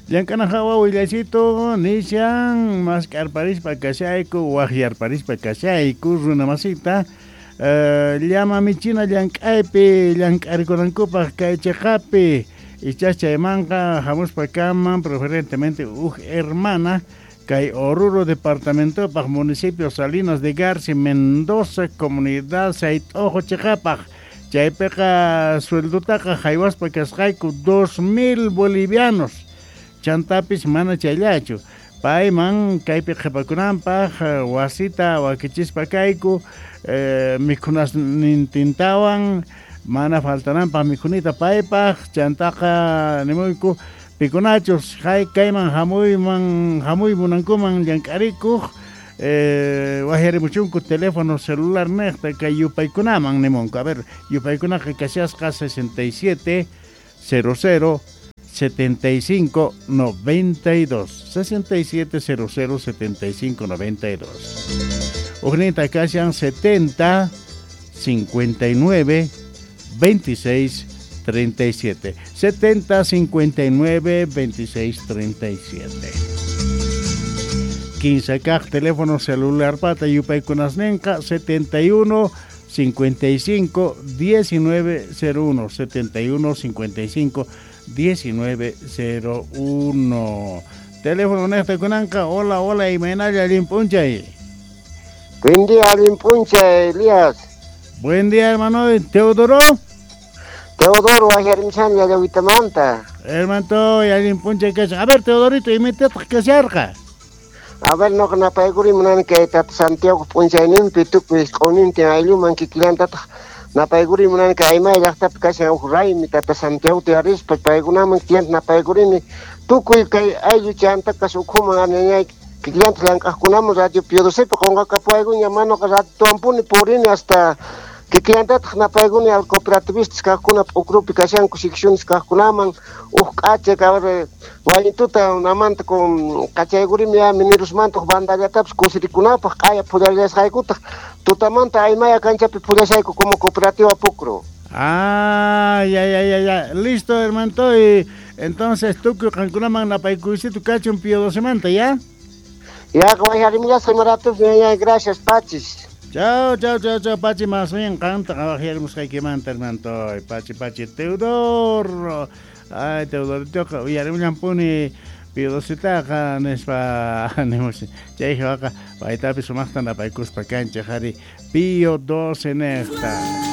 Llank'ana hawa willaysitu nishan mask'arparispa kashayku waqyarparispa kashayku runa masita llama michina llank'aypi llank'arikunankupaq kay chiqapi ichas chaymanqa hamuspa kanman preferentemente huk hermana kay Oruro departamentopaq municipio Salinas de Garci Mendoza comunidad Sayt'ojo chiqapaq chaypiqa sueldutaqa haywaspa kasqayku 2000 bolivianos chantapis mana chayllachu payman kaypi qhipakunanpaq wasita wakichispa kayku mikhunasnintintawan mana faltananpaq mikhunita paypaq chantaqa nimuyku pikunachus kayman hamuyman hamuy munankuman llank'arikuq waqyarimuchunku teléfono celular niqta kay yupaykunaman nimunku. A ver, yupaykunaqa kashasqa 67 00 75 92 67 00 75 92 Ujninta kashan 70 59 26 37 70 59 26 37 15 kaq teléfono celular pata yupaykunasninqa 71 55 19 01 71 55 19 01 Teléfono niqta kunanqa. Hola, hola, imaynalla allin p'unchay. Buen día, allin p'unchay, Elías. Buen día, hermano Teodoro. Teodoro, waqyarimishani Yallawitamanta. Hermano, allin p'unchay kashan. A ver, Teodorito, imatataq kasharqa? A ver, noqa napaykuri munani kay tata Santiago p'unchayninpi tukuy q'unintin aylluman kikillantataq napaykuri munani kay Aymay llaqtapi kashan huk raymi tata Santiago tiyarispa paykunaman kikillanta napaykurini tukuy kay ayllu chantakas ukhuman añañay kikillanta llank'aqkunaman radio Pío Docepi qunqakapuwaykuña manoqa ratuwanpuni purini hasta kikillantataq napaykuni al cooperativistas kaqkuna p'ukrupi kashanku secciones kaqkunaman huk k'acha a wayituta namanta con kachaykurimi ya minerosmanta huk bandallatapis kusirikunapaq q'aya phullarillasqaykutaq tutamanta Aymaya kanchapi phullashayku como cooperativa Pukro. Ah, ya, ya, ya, ya. Listo, hermano. Y entonces, tukuy qankunaman napaykuysitu kachun Pío Docemanta, ¿ya? Ya, waqyarimillasqa imaratus, ya, ya, gracias, pachis. Chao, chao, chao, chao, Pachi, más bien qanta waqyarimusqaykimanta, hermano. Pachi, Pachi, Teodoro. Ay, Teodoritoqa uyarimullanpuni Pío Docetaqa nispa nimush chay hawaqa paytapis sumaqta napaykuspa kanchik qhari Pío 12 niqta.